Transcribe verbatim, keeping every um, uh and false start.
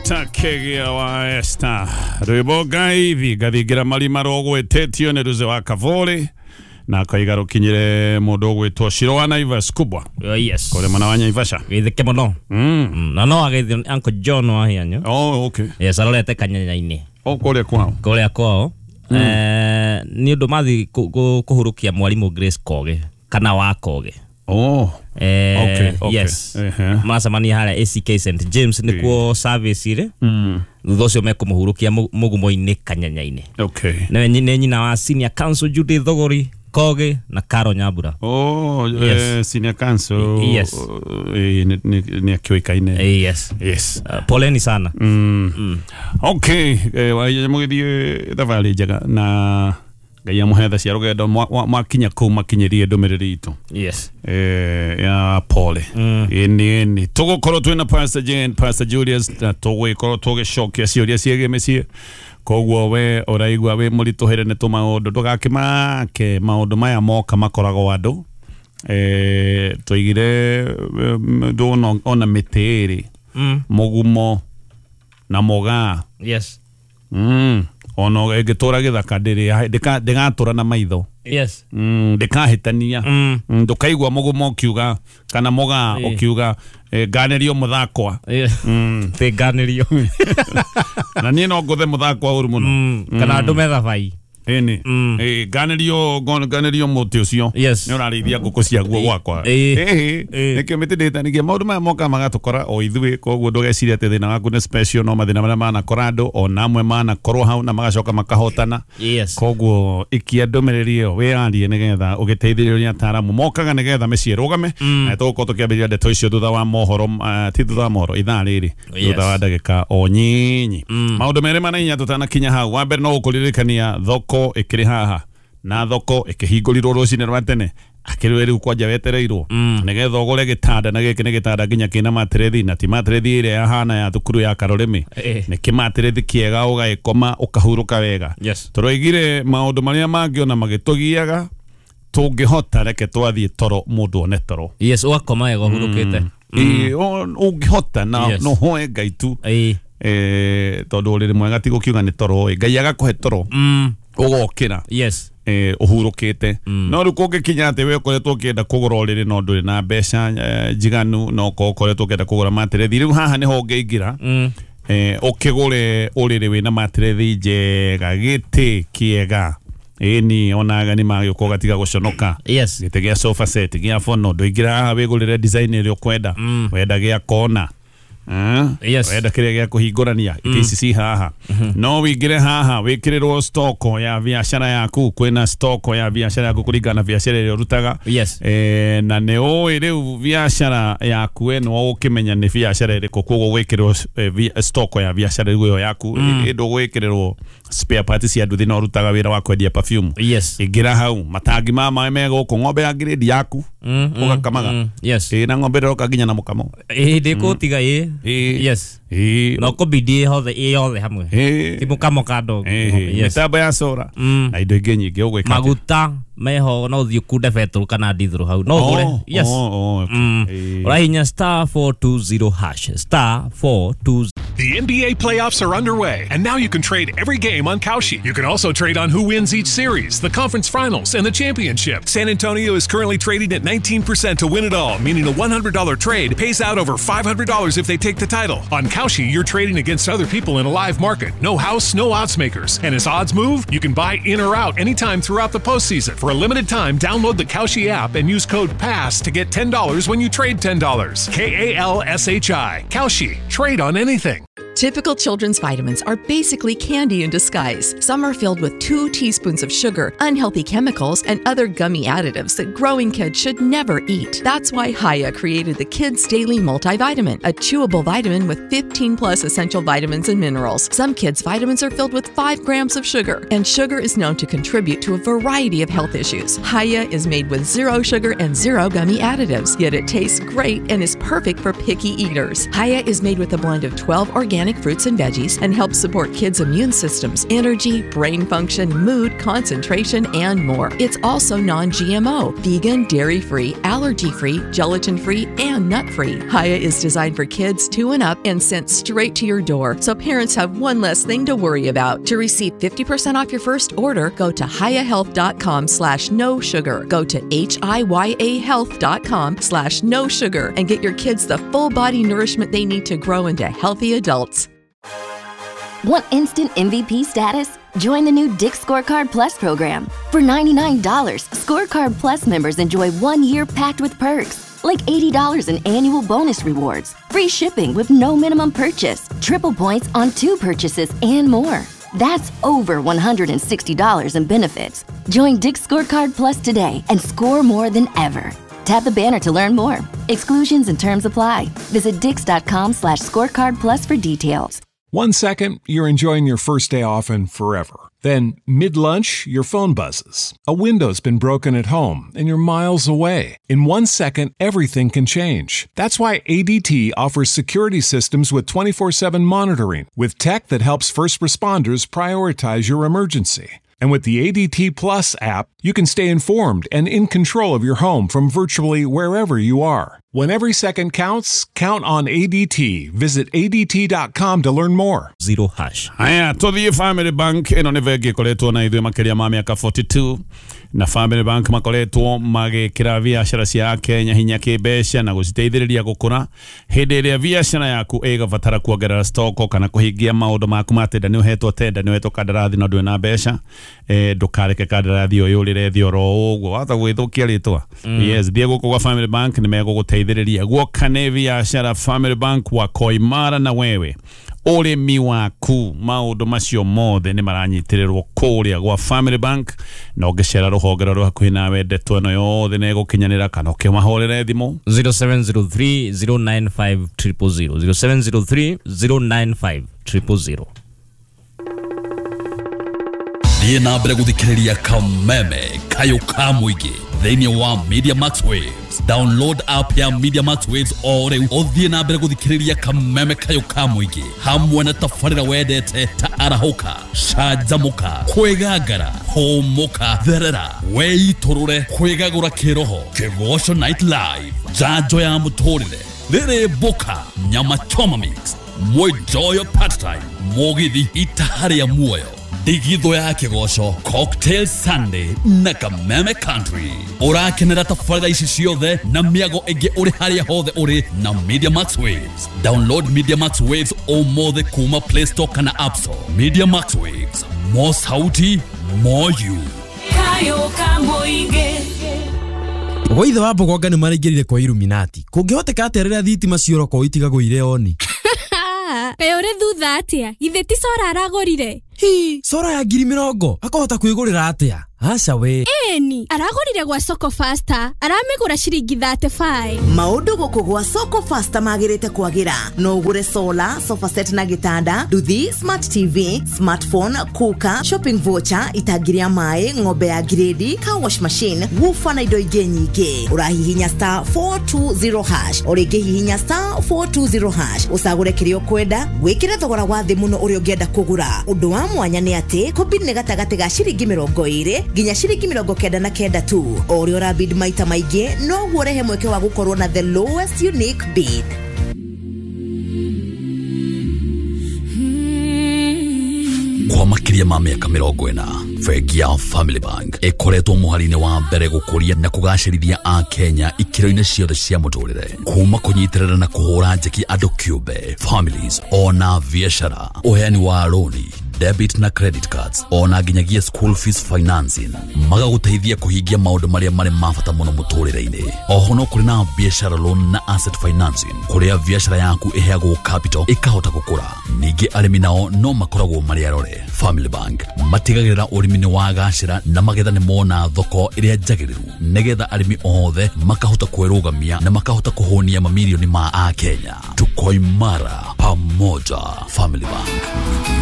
Doctor Kegia wa Esther rwimbo ngai thingathingira marima rũgwĩtĩtio nĩ Ruze wa Kavũrĩ na akaiga rũkinyĩre mũndũ ũgwĩtwo Shiro wa Naivas kubwa. Oh, yes. Kũrĩ mwena wa Naivasha gĩthĩke mũno. Mm. Mm, na no agĩthio Uncle John wa Hianyo. Oh, okay. Yes, arorete kanyanya-inĩ. Oh, kũrĩa kwao. Kũrĩa kwao. Mm. Eh, nĩ ũndũ mathi kũhurũkia mwarimũ Grace Koge kana wa Koge. Oh. Eh, okay, okay. Yes. Uh-huh. Maracemania harĩa A C K Saint James nĩkuo service ĩrĩ. Mm. Thutha ũcio mekũmũhurũkia mũgumo-inĩ kanyanya-inĩ. Okay. Nĩ nyina wa Senior Council Judith Thogori Koge na Karo Nyambura. Oh, yes. Eh, Senior Council. Yes. Eh, nĩ akĩũĩkaine. Yes. Yes. Uh, poleni sana. Mm. Mm. Okay, eh, mũgĩthiĩ thabarĩ njega na Ngai amũhe tha cia rũgendo mwakinya kũu makinyĩrie ndũmĩrĩri itũ. Yes. Eh, ya pole. Mm. Ĩni ĩni tũgũkorwo twĩna Pastor Jane, Pastor Julius na tũgũgĩkorwo tũgĩcokia ciũria ciĩgiĩ mĩciĩ. Koguo we ũraigua wĩ mũritũhĩre nĩ tũmaũndũ ndũgakĩmake maũndũ maya moka makoragwo andũ. Eh, tũigire ndũna ona mĩtĩ ĩrĩ. Mm. Mũgumo na mũgaa. Yes. Mm. Ono ĩngĩtũra gĩthaka ndĩrĩ ndĩgatũra na maitho. Yes. Mm, ndĩkahĩtania. Mm. Ndũkaigua mũgumo ũkiuga kana mũgaa ũkiuga nganĩrio mũthakwa. Yes. Mm. Tĩ nganĩrio. Na niĩ no ngũthe mũthakwa ũru mũno. Mm. Kana ndũme thabai. Ĩni. Mm. Ĩ nganĩrio nganĩrio mũtĩ ũcio. Yes. Nĩ ũrarĩithia ngũkũ ciaguo gwakwa. Ĩ. Nĩkĩo mĩtĩ ndĩhĩtanagia maũndũ maya moka magatũkora o ithuĩ koguo ndũgecirie atĩ thĩna waku nĩ special no mathĩna marĩa manakora andũ ona amwe manakorwo hau na magacoka makahotana. Yes. Koguo ikia ndũmĩrĩri ĩyo wĩyarie nĩgetha ũgĩteithĩrĩrio nĩ ataaramu mokaga nĩgetha mĩciĩ ĩrũgame. Mm. Na tũgũkorwo tũkĩambĩrĩria ndeto icio thutha wa mohoro uh, ti thutha wa mohoro ithaa rĩrĩ Yes. thutha wa ndagĩka o nyinyi. Mm. Maũndũ merĩ mana inya tũtanakinya hau wa mbere no gũkũririkania thoko ĩkĩrĩ haha na thoko ĩkĩhingũrirwo rũcinĩ rwa tene akĩrĩ rĩu kwanja wetereirwo Mm. nĩgetha ũgũre gĩtanda na gĩkĩ nĩ gĩtanda nginya kĩna matĩrĩthi na ti matĩrĩthi ĩrĩa yahana ya thukuru ya Karorĩmĩ. Eh. Nĩ kĩmatĩrĩthi kĩega ũgagĩkoma ũkahurũka wega. Yes. Tũroigire maũndũ marĩa mangĩ ona magĩtũgiaga tũngĩhota reke twathiĩ toro mũndũ one toro. Yes, ũgakoma wega ũhurũkĩte. Ĩ ũngĩhota na Yes. no hoe Ngai tu. Ĩ. Eh, tondũ ũrĩrĩ mwega ti gũkiuga nĩ toro ĩ Ngai agakũhe toro Mm. ũgokĩra. Yes. Eh, ũhurũkĩte. Mm. No rĩu kũngĩkinya atĩ we ũkoretwo ũkĩenda kũgũra ũrĩrĩ no ndũrĩ na mbeca eh, njiganu no ũkorwo ũkoretwo ũkĩenda kũgũra matĩrĩthi rĩu haha nĩho ũngĩingĩra. Mm. Eh, ũkĩgũre ũrĩrĩ wĩna matĩrĩthi njega gĩtĩ kĩega ĩni ona ageni magĩũka ũgatiga gũconoka. Yes. Gĩtĩ gĩa sofa set gĩa fono ndũingĩra haha wĩgũrĩre design ĩrĩa ũkwenda. Mm. Wenda gĩa kona. Eh? Yes. Wenda kĩrĩa gĩa kũhingũrania itĩ ici ci haha. No wĩingĩre haha wĩkĩrĩrwo stoko ya biacara yaku kwĩna stoko ya biacara yaku kũringana na biacara ĩrĩa ũrutaga. Yes. Eh, na nĩ ũĩ rĩu biacara yaku we nĩwe ũkĩmenya nĩ biacara ĩrĩkũ koguo gwĩkĩrĩrwo eh, stoko ya biacara rĩu ĩyo yaku Mm. ĩ ndũgwĩkĩrĩrwo spare parts cia nduthi no ũrutaga wĩra wa kwendia perfume. Yes. Ingĩra hau matangi ma maĩ me gũkũ ng'ombe ya grade yaku Mm, mm, ũgakamaga. mm. Yes. Ĩ na ng'ombe ndĩroka nginya na mũkamo. Ĩ ndĩkũtiga ĩ. Ĩ. Yes. Ĩ. No kũbidi hothe ĩ yothe hamwe. Ĩ. Ti mũkamo kando. Ĩ. Yes. Mĩtambo ya sora Mm. na indo ingĩ nyingĩ ũgwĩka atĩa? Maguta meho no ũthiĩ ũkunde betũrũ kana ndithũrũ hau no ũgũre. Oh, Yes. oh, oh, okay. Mm. Ĩ. Ũrahihinya star four two zero hash star four two The N B A playoffs are underway, and now you can trade every game on Kalshi. You can also trade on who wins each series, the conference finals, and the championship. San Antonio is currently trading at nineteen percent to win it all, meaning a one hundred dollar trade pays out over five hundred dollars if they take the title. On Kalshi, you're trading against other people in a live market. No house, no odds makers. And as odds move, you can buy in or out anytime throughout the postseason. For a limited time, download the Kalshi app and use code PASS to get ten dollars when you trade ten dollars. K A L S H I. Kalshi. Trade on anything. Typical children's vitamins are basically candy in disguise. Some are filled with two teaspoons of sugar, unhealthy chemicals, and other gummy additives that growing kids should never eat. That's why Hiya created the Kids Daily Multivitamin, a chewable vitamin with fifteen plus essential vitamins and minerals. Some kids' vitamins are filled with five grams of sugar, and sugar is known to contribute to a variety of health issues. Hiya is made with zero sugar and zero gummy additives, yet it tastes great and is perfect for picky eaters. Hiya is made with a blend of twelve organic organic fruits and veggies and helps support kids' immune systems, energy, brain function, mood, concentration, and more. It's also non G M O, vegan, dairy-free, allergy-free, gelatin-free, and nut-free. Hiya is designed for kids two and up and sent straight to your door, so parents have one less thing to worry about. To receive fifty percent off your first order, go to hiya health dot com slash no sugar. Go to H I Y A health dot com slash no sugar and get your kids the full body nourishment they need to grow into healthy adults. Want instant M V P status? Join the new Dick's Scorecard Plus program. For ninety-nine dollars, Scorecard Plus members enjoy one year packed with perks, like eighty dollars in annual bonus rewards, free shipping with no minimum purchase, triple points on two purchases, and more. That's over one hundred sixty dollars in benefits. Join Dick's Scorecard Plus today and score more than ever. Tap the banner to learn more. Exclusions and terms apply. Visit dicks.com slash scorecard plus for details. One second, you're enjoying your first day off and forever. Then, mid-lunch, your phone buzzes. A window's been broken at home, and you're miles away. In one second, everything can change. That's why A D T offers security systems with twenty-four seven monitoring, with tech that helps first responders prioritize your emergency. And with the A D T Plus app, you can stay informed and in control of your home from virtually wherever you are. When every second counts, count on A D T. Visit A D T dot com to learn more. Zero hash. Haya, tuthie Family Bank ĩno nĩ bengi ĩkoretwo na ithuĩ makĩria ma mĩaka forty-two na Family Bank makoretwo magĩkĩra biacara cia Kenya hinya kĩmbeca na gũciteithĩrĩria gũkũra. Hĩndĩ ĩrĩa biacara yaku ĩgabatara kuongerera stoko kana kũhingia maũndũ maku ma tenda, nĩ ũhetwo tenda, nĩ ũhetwo kandarathi na ndũrĩ na mbeca, eh, ndũkareke kandarathi ũyũ ũrĩre thĩ oro ũguo wahota gwĩthũkia rĩtwa. Yes, thiĩ gũkũ gwa Family Bank nĩ megũgũteithĩrĩria guoka nĩ biacara. Family Bank wako imara na wewe ũrĩmi waku, maũndũ macio mothe nĩ maranyitĩrĩrwo kũrĩa gwa Family Bank, na ũngĩcera rũhonge rũrĩa hakuhĩ nawe ndeto ĩno yothe nĩ ĩgũkinyanĩra, kana ũkĩmahũrĩre thimũ zero seven zero three zero nine five triple zero, zero seven zero three zero nine five triple zero. Thiĩ na mbere gũthikĩrĩria Kameme Kayũ ka Mũingĩ thĩinĩ wa Media Max Waves. Download app ya Media Max Waves o rĩu ũthiĩ na mbere gũthikĩrĩria Kameme Kayũ ka Mũingĩ hamwe na tabarĩra wendete ta Arahũka, Canjamũka, Kwĩgangara, Hũmũka, Therera, Wĩitũrũre, Kwĩgagũra Kĩroho, Kĩgoco Night Live, Njanjo ya Mũtũrĩre, Rĩrĩ Mboka, Nyama Choma Mix, Mwĩnjoyo Part Time, Mũgithi Itaha rĩa Muoyo, Ndigithũ ya Kĩgoco, Cocktail Sunday na Kameme Country. Ũrakenera tabarĩra ici ciothe na mĩago ĩngĩ ũrĩ harĩa hothe ũrĩ na Media Max Waves. Download Media Max Waves ũmũthĩ kuma Play Store kana App Store. Media Max Waves, more sauti, more you. Kayũ ka Mũingĩ. Gwaithe wa Mbogonga nĩ maraingĩrire kwa Illuminati. Kũngĩhoteka atĩa rĩrĩa thitima ciorokwo itigagũire oni? Kaĩ ũrĩ thutha atĩa? Githĩ ti cora aragũrire? Hi, cora ya ngiri mĩrongo akahota kwĩgũrĩra atĩa? Aca we. Ĩni, aragũrire gwa Soko Faster, aramĩgũra ciringi thirty-five. Maũndũ gũkũ gwa Soko Faster magĩrĩte kwagĩra. No ũgũre solar, sofa set na gĩtanda, nduthi, smart T V, smartphone, cooker, shopping voucher, itangi rĩa maĩ, ng'ombe ya grade, car wash machine, woofer na indo ingĩ nyingĩ. Ũrahihinya star four two zero hash, o rĩngĩ hihinya star four two zero hash, ũcagũre kĩrĩa ũkwenda, wĩkĩre thogora wa thĩ mũno ũrĩa ũngĩenda kũgũra. Ũndũ wa mwanya nĩ atĩ kũbid nĩ gatagatĩ ga ciringi mĩrongo ĩrĩ nginya ciringi mĩrongo kenda na kenda tu. O ũrĩa ũrabid maita maingĩ noguo ũrehe mweke wa gũkorwo na the lowest unique bid. Kwa makĩria ma mĩaka mĩrongo ĩna, bengi ya Family Bank ĩkoretwo mũhari-inĩ wa mbere gũkũria na kũgacĩrithia a Kenya ikĩro-inĩ ciothe cia mũtũrĩre, kuma kũnyitĩrĩra na kũhũra njeki andũ kĩũmbe, families ona biacara, ũheani wa rũni, debit na credit cards, ona nginyagia school fees financing, magagũteithia kũhingia maũndũ marĩa marĩ ma bata mũno mũtũrĩre-inĩ. Oho no kũrĩ na biacara loan na asset financing, kũrĩa biacara yaku ĩheagwo capital ĩkahota gũkũra. Ningĩ arĩmi nao no makoragwo marĩ arore. Family Bank matigagĩrĩra ũrĩmi nĩ wagacĩra na magetha nĩ mona thoko ĩrĩa njagĩrĩru, nĩgetha arĩmi othe makahota kwĩrũgamia na makahota kũhũnia mamirioni ma Akenya. Tuko imara pamoja. Family Bank.